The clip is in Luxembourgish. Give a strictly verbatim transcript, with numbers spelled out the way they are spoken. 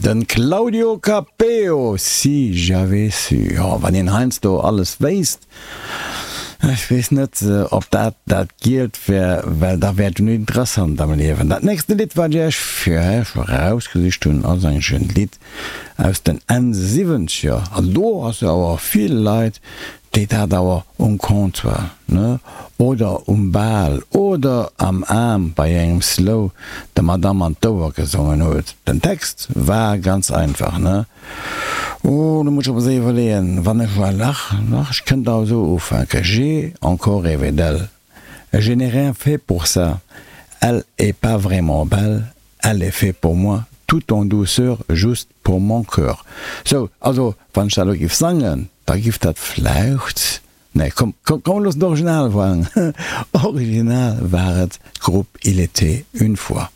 Den Claudio Capéo, Si j'avais su. Jo, wann een heiansdo alles wéisst, ech weess net, ob dat dat Gielt wär, well da wär et jo net interessant am Liewen. Dat nächste Lidd, wat ech Iech fir Iech erausgesicht hunn, ass eigentlech en Lidd aus den Enn Siwwenzeger. An do ass jo awer vill Leit, déi dat awer um Comptoir, ne, oder um Bal oder am Aarm bei engem Slow der Madame an d'Ouer gesongen huet. Den Text war ganz einfach, ne. Oh, do muss ech awer séier iwwerleeën, wann ech well, ach, ach, ech kënnt awer esou ufänken, J'ai encore rêvé d'elle, je n'ai rien fait pour ça, elle est pas vraiment belle, elle est fait pour moi, tout en douceur, juste pour mon cœur. Sou, also, wann ech dat elo giff sangen, da giff dat vläicht, nee, komm, komm, komm, looss d'Original waren. Original war et d'Grupp Il était une fois.